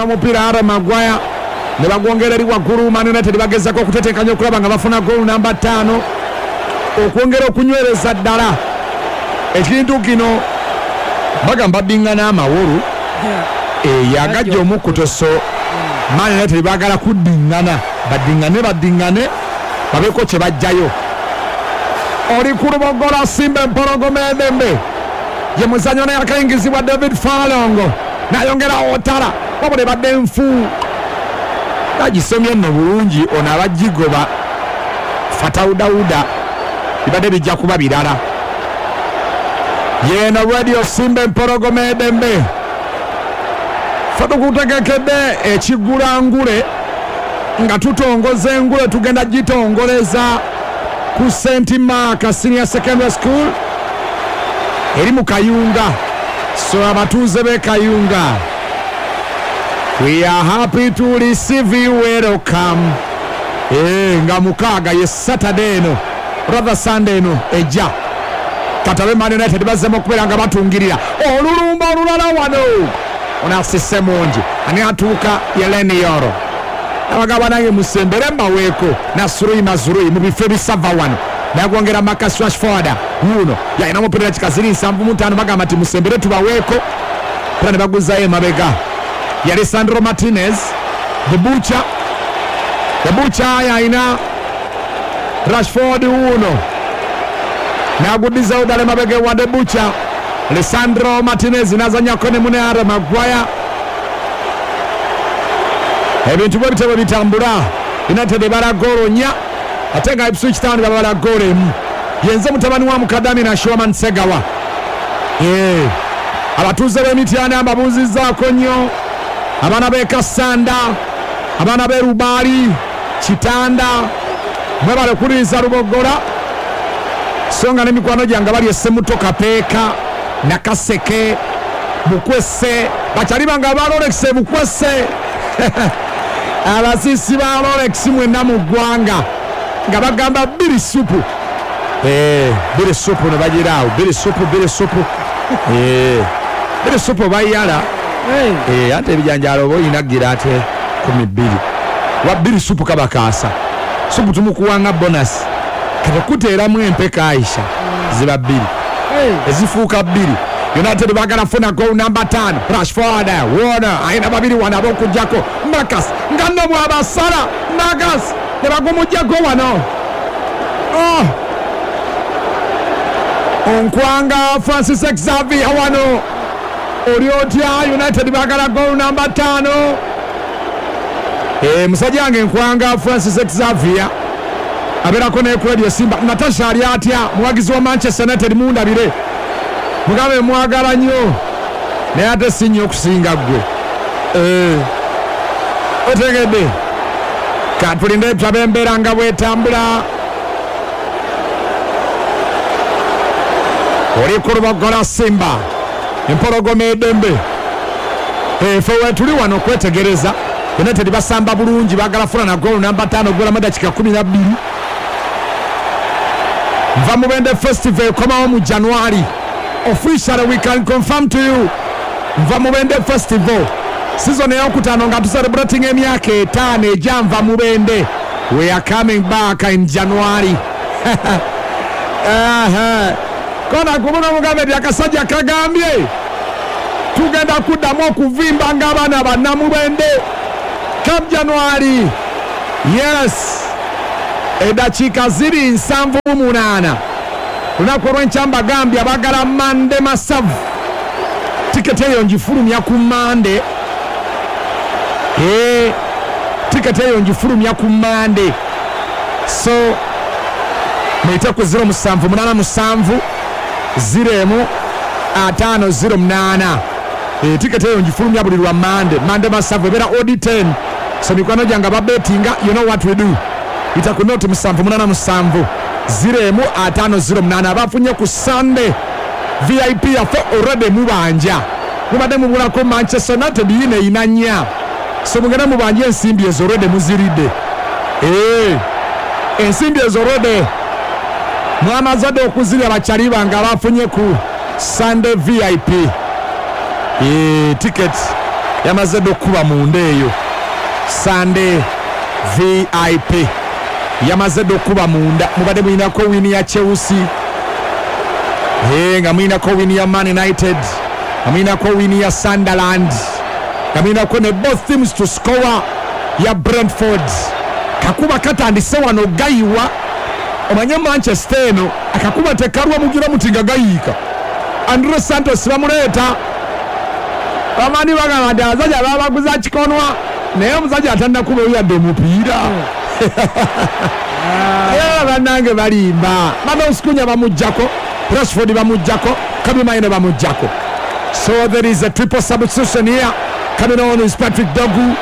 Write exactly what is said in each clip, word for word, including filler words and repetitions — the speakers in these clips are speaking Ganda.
Yalina omupiira Harry Maguire ne bagwongera eri waggulu. Man United bagezaako okutetenkanya okulaba nga bafuna goal namba ttaano okwongera okunywereza ddala ekintu kino. Bagamba bingana amawolu eyagajja omukkuto, so Man United baagala kuddiŋŋana, baddiŋŋane baddiŋŋane babeeko kye bajjayo. Oli ku Lubogola, Simba Empologoma Edembe ye muzannyo naye akayingizibwa David Furlong nayongera Otara, wabula ebadde nfu. Agisomye nno bulungi ono abagigoba Fatau Dauda, bibadde bijja kuba birala. Yeno Radio Simba Empologoma Edembe, fe tukutegekedde ekigulangule nga tutongoza engule, tugenda gitongoleza ku Saint Mark Senior Secondary School eri mu Kayunga. So abatuuze b'e Kayunga, we are happy to receive you, welcome. Eh, nga mukaaga ye Saturday eno, rather Sunday eno ejja. Katabe Man United bazzemu okubeera nga batungirira olulumba olulala wano. Onasise mungi, ani atuuka? Leny Yoro. Abagaba nange musembere mbaweeko Nasrui Mazrui mu bifo ebisava wano nagwongera Marcus Rashford wuno yalina omupiira dakika ziri nsanvu mu ttaano. Bagamba nti musembere tubaweeko era ne baguzayo emabega. Yali Sandro Martinez, the Butcher, the Butcher yalina Rashford wuno naguddizawo ddala emabega ewa the Butcher. Lisandro Martinez nazanyako ne mune Harry Maguire. Ebintu bwe bityo bwe bitambula. United ebala goolo nnya ate nga Ipswich Town babala goolo emu. Yenze mutabani wa Mukadami na Shoman Segawa. Eh, abatuuze b'Emityana mbabuuzizzaako nnyo, abaana b'e Kassanda, abaana b'e Lubaali, Kitanda, mwebale kuwuliriza Lubogola. So nga n'emikwano gyange bali Essemuto, Kapeeka, Nakaseke, Bukwese, bakyali bange aba Rolex e Bukwese, abasiisi ba Rolex mwenna mu ggwanga nga bagamba bbiri supu. Eh, bbiri supu ne bagiraawo bbiri supu, bbiri supu. Eh, bbiri supu bayala. Eh, ate ebijanjaalo oba olina gira ate kumi bbiri wa bbiri supu kabakaasa supu tumukuwanga bonus kati kuteeramu empeka Aisha ziba bbiri ezifuuka bbiri. United bagala funa goal namba tano. Rashford wona ayina babiri wano ab'okujjako Marcus nga nno bw'abasala Marcus ne bagumugjako wano. Oh! Onkwanga Francis Xavier wano oli otya? United bagala goal namba tano. Eh, musajja wange Nkwanga Francis Xavier abeerako ne ku Radio Simba. Natasha ali atya? Muwagizi wa Manchester United, mundabire mugambe mwagala nnyo naye ate si nnyo okusinga ggwe. Eh, otegedde? Katulinde tulabe embeera nga bwetambula. Oli ku Lubogola, Simba Empologoma Edembe, efe wetuli wano okwetegereza. United basamba bulungi, bagala funa na goal namba tano golamu dakika kumi na bbiri. Nva Mubende Festival ekomawo mu January. Officially we can confirm to you, Nva Mubende Festival season eyokutaano nga tucelebrating emyaka etaano egya Nva Mubende. We are coming back in January. Aha. Kona kubona mugambe nti akasajja kagambye tugenda kuddamu okuvimba ng'abaana bannamubende come January. Yes, eddakiika ziri nsanvu mu munaana. Lunaku olw'enkya mbagambye abagala Mande masavu, tiketi eyo ngifulumya ku Mande. Ee, tiketi eyo ngifulumya ku Mande, so muyite ku zero musanvu munaana musanvu zero emu ataano zero munaana. E, tiketi eyo ngifulumya buli lwa Mande. Mande masavu ebeera odd ten, so mikwano gyange ababetinga, you know what we do, yita ku noti musanvu munaana musanvu zero emu ataano zero munaana. Abafunye ku Sunday V I P yaffe already mubanja, mubadde mubulako Manchester United yino eyina nnya, so mugende mubanje ensimbi ezo, already muziridde. Eh, ensimbi ezo already mwamaze dde okuzirya, bakyali bange abafunye ku Sunday V I P. Eh, ticket Yamaze dda okukuba munda eyo. Sunday V I P yamaze dda okukuba munda. Mubadde mulinako wini ya Chelsea, nga mulinako wini ya Man United, nga mulinako wini ya Sunderland, nga mulinako ne both teams to score ya Brentford. Kakuba katandise wano gayiwa. Omanye Manchester eno akakuba tekalwa mugira muti nga gayiika. Andre Santos bamuleeta. Bamani bagamba nti abasajja babaguza kikonwa, naye omusajja atannakuba yadde omupiira. Era bannange balimba. Matheus Cunha bamuggyako, Rashford bamuggyako, Kobbie Mainoo bamuggyako. So there is a triple substitution here. Coming on is Patrick Dorgu,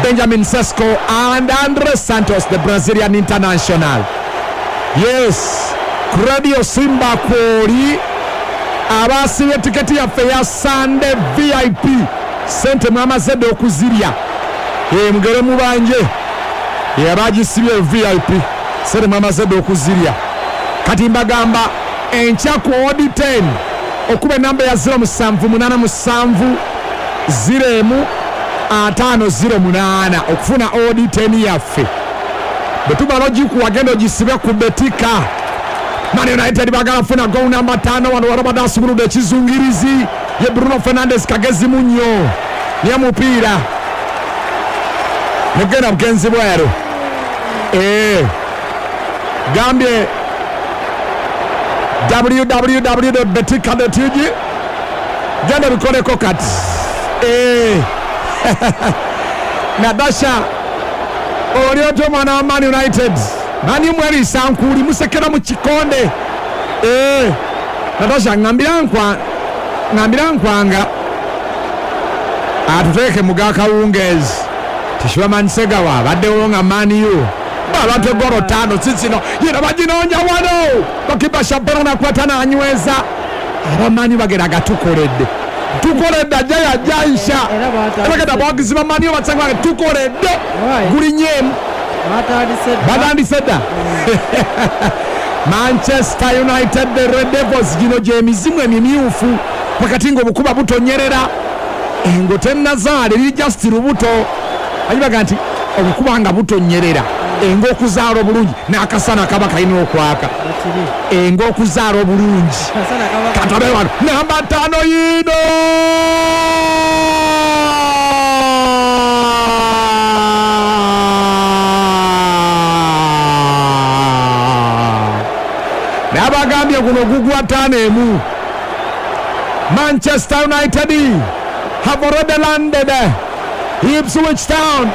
Benjamin Sesko and Andre Santos, the Brazilian international. Yes, Radio Simba kwoli abasibye tiketi yaffe ya Sunday V I P. Sente mwamaze dde okuzirya. Eh, mugere mubanje. Yabagisibye V I P. Sente mwamaze dde okuzirya. Kati mbagamba enkya ku odi ten okuba enamba ya zero musanvu munaana musanvu zero emu ataano zero munaana okufuna odi ten yaffe. Bwe tumala ogikuwa genda ogisibe ku Betika. Man United bagala funa goal namba tano. Wano warabadde asumuludde ekizungirizi ye Bruno Fernandes kagezi munnyo niye mupiira negenda bugenzi bweru. Eh, gambye w w w dot betika dot u g genda bikoleko kati. Eh, Nadasha oli otyo mwana wa Man United mani mwerisa nkuli musekera mu kikonde. Eh, Natasha ngambira nkwa ngambira nkwanga atuteeke mu gakawungeezi. Tishiba Mansegawa baddewo nga Man U babatwe golo tano sisino yera baginoonya wano bakipa Shabana nakwata n'anyweza. Abamanyi bagera gatukoledde tukoledde ajja yajjaisha bagenda abawagizi ba Man U basanga tukoledde gulinyemu batandise dda. Manchester United the Red Devils gino gy'emizimu emimyufu wakati ng'obukuba butonyerera engo tennazaala eri just lubuto. Ayibaga nti obukuba nga butonyerera engo okuzaala obulungi n'akasana kaba kalina okwaka. Engo okuzaala obulungi katabe wano namba ttaano yiino nabagambye guno gugwa ttaano emu. Manchester United have already landed. Ipswich Town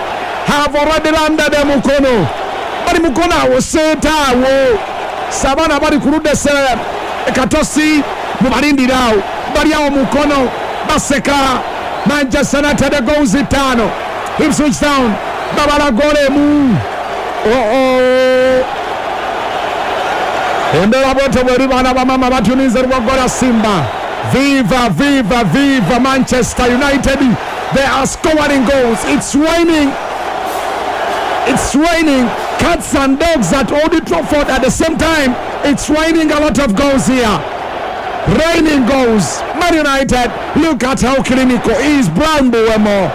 have already landed Mukono. Bali Mukono awo seeta awo Sabana bali ku ludda Katosi mubalindira awo bali awo Mukono baseka. Manchester United goals ttaano, Ipswich Town babala goal emu. Oh oh. Embeera bwetyo bweri baana bamama batunize Rwagola Simba. Viva, viva, viva Manchester United. They are scoring goals. It's raining. It's raining cats and dogs at Old Trafford at the same time. It's raining a lot of goals here. Raining goals. Man United, look at how clinical is Brian Mbeumo.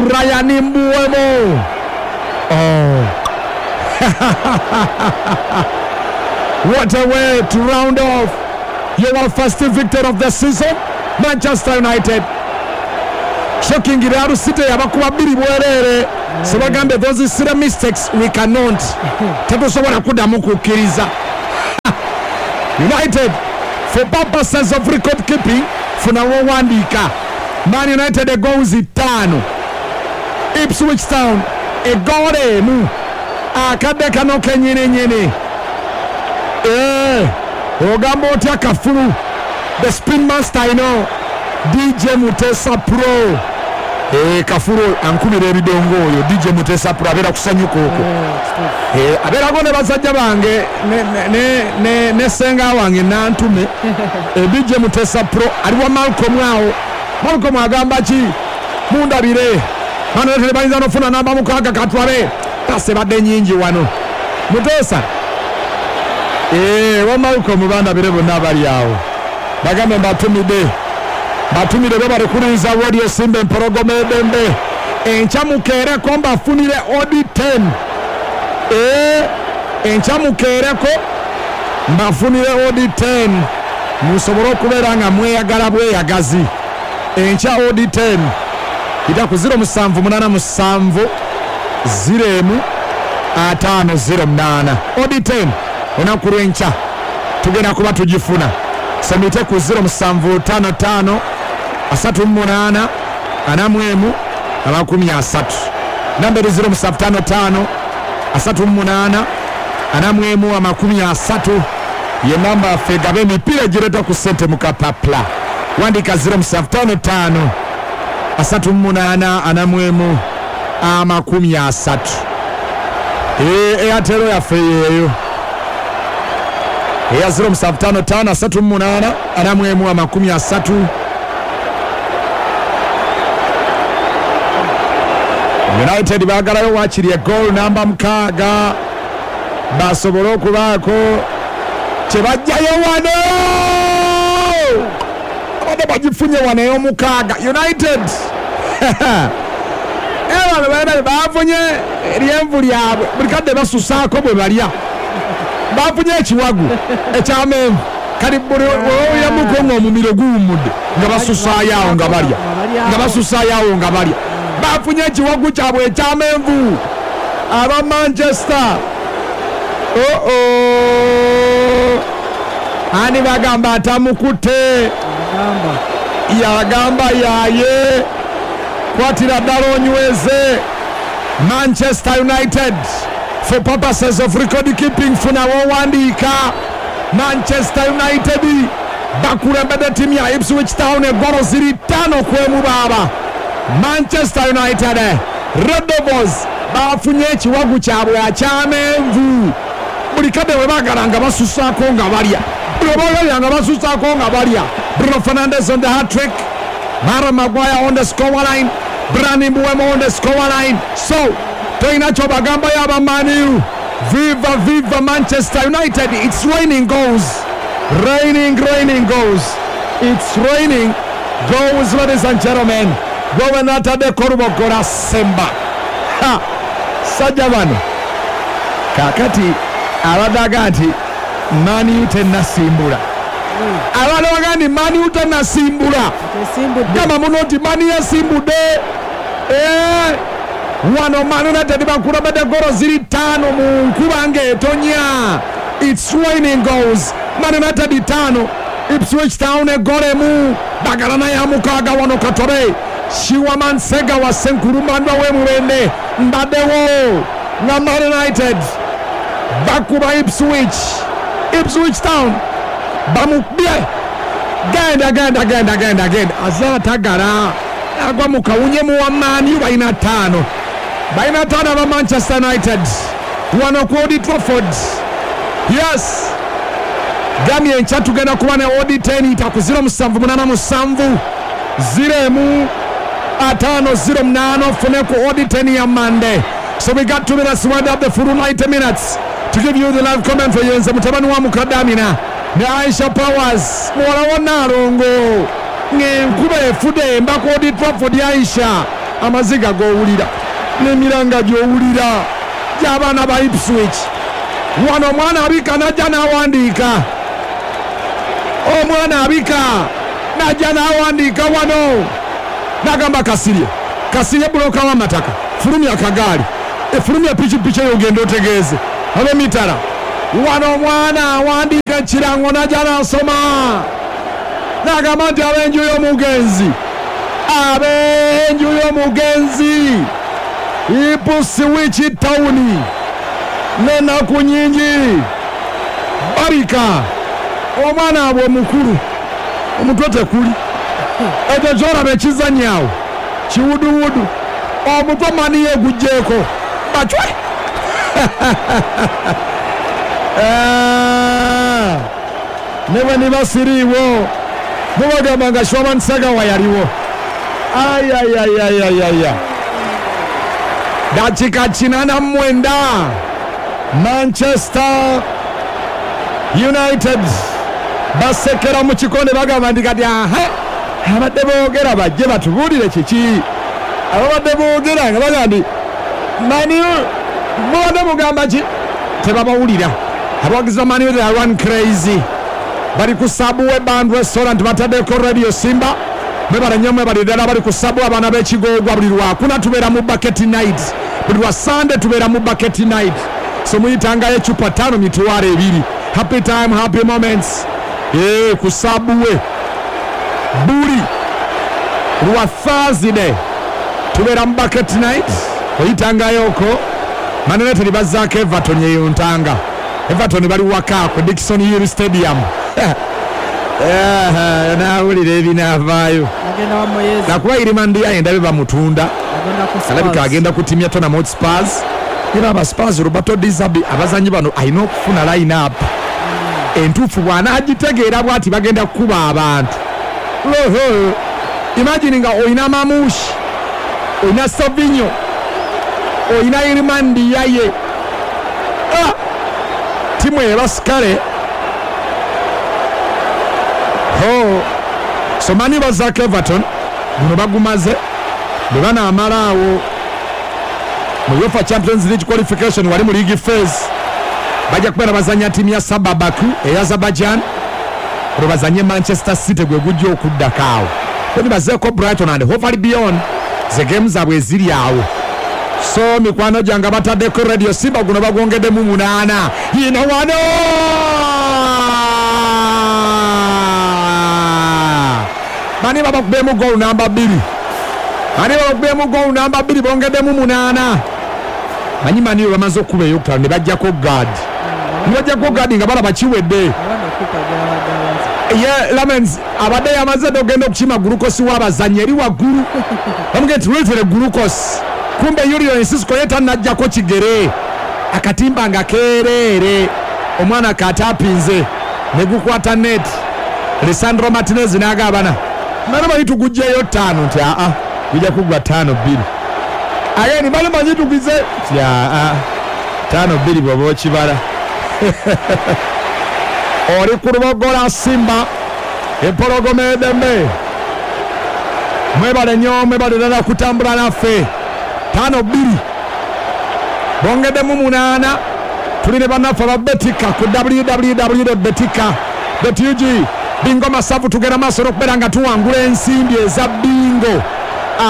Brian Mbeumo. Oh. What a way to round off your first victory of the season. Manchester United. Shocking Real City abakuba bbiri bwerere. Sebagambe those silly mistakes we cannot. Tetusobola kuddamu kukkiriza. United for purposes of record keeping funa wowandiika. Man United goals ttaano, Ipswich Town egoolo emu. Akadde kano kennyininyini. Eh, ogamba otya kafulu the spin master I know D J Mutesa Pro. Eh, kafulu ankubira ebidongo oyo D J Mutesa Pro abeera kusanyuka okwo. Eh, abeerako ne basajja bange ne ne ne ne senga wange nantume. Eh, D J Mutesa Pro ali wa Malcolm awo. Malcolm agamba ki mundabire. Bano lete bayinza n'ofuna namba mukaaga katwale. Pase badde nnyingi wano. Mutesa. Eh, wa Malcolm bandabire bonna bali awo. Bagambe mbatumidde. Batumire bebale kulinza Radio Simba Empologoma Edembe. Enkya mukeereko mbafunire odi ten. Eh, enkya mukeereko mbafunire odi ten. Musobole okubeera nga mweyagala bweyagazi. Enkya odi ten. Ita ku zero musanvu munana musanvu zero emu ataano zero munaana. Odi ten. Olunaku lw'enkya tugenda kuba tugifuna. Semite ku zero musanvu tano tano asatu munaana ana mu emu amakumi asatu. Namba eri zero musanvu tano tano asatu munaana ana mu emu amakumi asatu ye namba yaffe gaba emipiira egireetwa ku ssente mu kapapula. Wandika zero musanvu tano tano asatu munaana ana mu emu amakumi asatu. Eyatero yaffe yeeyo eya zero musanvu tano tano asatu munaana ana mu emu amakumi asatu. United baagalayo waakiri egoal namba mukaaga basobole okubaako kye bajjayo wano. Abadde bagifunye wano ey'omukaaga United. Era bano bafunye eryenvu lyabwe buli kadde basusaako bwe balya. Bafunye ekiwagu ekyamenvu kati buli oyamuko ng'omumiro guwummudde nga basusaayo awo nga balya nga basusaayo awo nga balya. Bafunye ekiwagu kyabwe ekyamenvu aba Manchester. Oh oh, ani bagamba atamukutte yagamba yaye kwatira ddala onyweze. Manchester United for purposes of record keeping funa wowandiika. Manchester United bakulembedde ttiimu ya Ipswich Town eggolo ziri ttaano ku emu baaba. Manchester United Red Devils bafunye ekiwagu kyabwe akyamenvu. Buli kadde bwe baagala nga basusaako nga balya, buli bwe nga basusaako nga balya. Bruno Fernandes on the hat-trick, Mara Maguire on the scoreline, Brani Mbeumo on the scoreline. So tolina kyobagambayo aba Man U. Viva viva Manchester United. It's raining goals, raining raining goals, it's raining goals, ladies and gentlemen. Gwe nataddeko Lubogola Semba. Ha, sajja bano kaakati abaddaga nti Man U tennasimbula. Abaddaga nti Man U tennasimbula. Gamba muno nti Man U yasimbudde. Eh, wano Man United bakulembedde golo ziri ttaano mu nkuba ng'etonya. It's raining goals. Man United ttaano, Ipswich Town eggolo emu. Bagala naye amukaaga wano Katore. Shiwaman Sega wa Senkurumandwa w'Emurembe mbaddewo nga Man United bakuba Ipswich. Ipswich Town bamukubye. Genda genda genda genda genda azala tagala agwa mu kawunye mu wa Man U. Balina ttaano, balina ttaano aba Manchester United wano ku Old Trafford. Yes, gamye enkya tugenda kuba ne odi ten ita ku zero musanvu munana musanvu zero emu atano zero munaana ofune ku odi ten ya Monday. So we got two minutes to wind up the full ninety minutes to give you the live comment for yenze mutabani wa Mukadamina ne Aisha Powers muwala wa Nalongo ng'enkuba efudde emba ku Old Trafford. Aisha amaziga g'owulira n'emiranga gy'owulira gy'abaana ba Ipswich. Wano omwana abika najja n'awandiika, omwana abika najja n'awandiika wano nagamba Kasirye, Kasirye buloka w'amataka, fulumya akagaali, efulumya pikipiki eyo ogenda otegeeze ab'emitala. Wano omwana awandiika ekirango najja n'asoma nagamba nti ab'enju y'omugenzi, ab'enju y'omugenzi Ipswich Town n'ennaku nyingi babika omwana abwe omukulu omutwe tekuli ekyo kyolaba ekizanyaawo kiwuduwudu omutwe mani yegugjeeko bacwe. Ne bwe niba siriiwo mubagamba nga Shwaman Sagawa yaliwo. Ayayayayaya, dakika kinana mwenda Manchester United basekera mu kikonde bagamba nti kati aha Abadde boogera bajje batubuulire kiki. Ababadde boogera nga bagamba nti Man U mubadde mugamba ki, tebabawulira. Abawagizi ba Man U, they are run crazy. Bali ku Subway Band Restaurant, bataddeko Radio Simba. Mwebale nnyo, mwebale ddala. Bali ku Subway, abaana b'Ekigoogwa. Buli lwakuna tubeera mu bucket night, buli lwa Sande tubeera mu bucket night, so muyitangayo ecupa ttaano mitwalo ebiri. Happy time, happy moments. Ee, ku Subway buli lwa Thursday tubeera mu bucket night, oyitangayoko. Man United bazzaako Everton eyo ntanga. Everton bali waka ku Dixon Hill Stadium. Naawulira ebinaavaayo. Agenda wa Moyes. Nakuba Iliman Ndiaye ndabe bamutunda. Agenda ku alabika Spurs. Agenda kutimya Tottenham Hotspurs. Era aba Spurs, Roberto De Zerbi, abazanyi bano alina okufuna line up entuufu. Bw'anaagitegeera bw'ati bagenda kukuba abantu. Oho. Imagine nga olina Marmoush, olina Savinho, olina Iliman Ndiaye. Ah! Timu ebasikale ho. So Man U bazaako Everton, guno bagumaze. Bwe banaamala awo mu UEFA Champions League qualification, wali mu league phase, bajja kubeera bazanya ttiimu ya Saba Baku eya Azerbaijan, olwo bazanye Manchester City gwe gujja okuddako awo. Then bazeeko Brighton and Hove Albion, ze game zaabwe eziri awo. So mikwano gyange bataddeko Radio Simba, guno bagwongeddemu munaana. Yino wano bani babakubyemu goal namba bbiri, bani babakubyemu goal namba bbiri, bongeddemu munaana. Manyi Man U bamaze okuba eyokutaano ne bajjako guard, ne bajjako guard nga balaba kiwedde. Abana kupa gyabadde abaza. Ye Lamens abadde yamaze dde ogenda okukima gulukosi w'abazannyi eri waggulu, bamugee nti leetere gulukosi, kumbe Julio Enciso ye tannajjako kigere, akatimba nga keereere, omwana katapinze ne gukwata net. Lisandro Martinez n'agabana bano manyi tugugjeyo ttaano, nti aa gujja kuggwa ttaano bbiri. Ageni bano manyi tugize nti aa ttaano bbiri bw'oba okibala. Oli ku Lubogola Simba, empologoma edembe. Mwebale nnyo, mwebale ddala kutambula naffe. Ttaano bbiri, bongeddemu munaana. Tuli ne bannaffe aba Betika ku W W W betika ug. Bingo masavu, tugenda maaso n'okubeera nga tuwangula ensimbi eza bingo.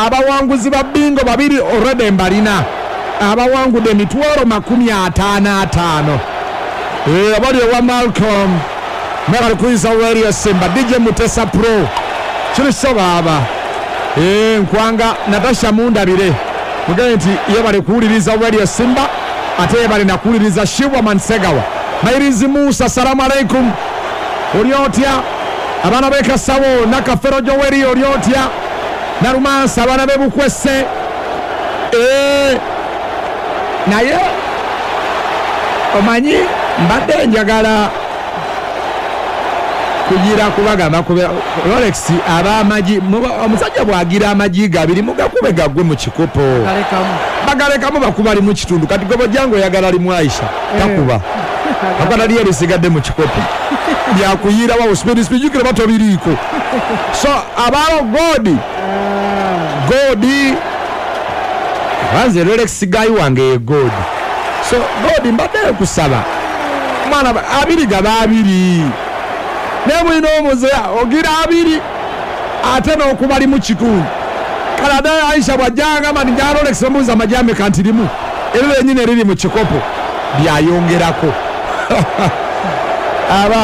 Abawanguzi ba bingo babiri already mbalina, abawangudde emitwalo makumi ataano ataano. Eh, abali ewa Malcolm, mwebale kuyiza Radio Simba. D J Mutesa Pro kiri so baaba. Eh, nkwanga Natasha mundabire mugende nti yebale kuwuliriza Radio Simba, ate yebale nakuwuliriza Shibwa Mansegawa. Mairizi Musa, salamu alaikum, oli otya? Abaana b'e Kasawo, Nakafero Joweri, oli otya? Nalumansa, abaana b'e Bukwese. Eh, naye omanyi mbadde njagala kugira kubagamba kubera Rolex ab'amagi muba- omusajja bw'agira amagi gabiri mugakube gagwe mu kikopo. Kalekamu. Bagalekamu, bakuba limu kitundu. Kati gwe bojjangu oyagala limu, Aisha takuba akwata lye lisigadde mu kikopo byakuyirawo speed speed, jukira batobiriiko. So abawo godi godi banze Rolex guy wange ye godi. So godi mbadde kusaba mwana ba- abiri gaba abiri, naye mulina omuze ogira abiri ate n'okuba limu kitundu. Kale ate Aisha bw'ajjanga nti njala Rolex, bamubuuza amagi ameka, nti limu, eryo lyennyini eriri mu kikopo byayongerako abaana.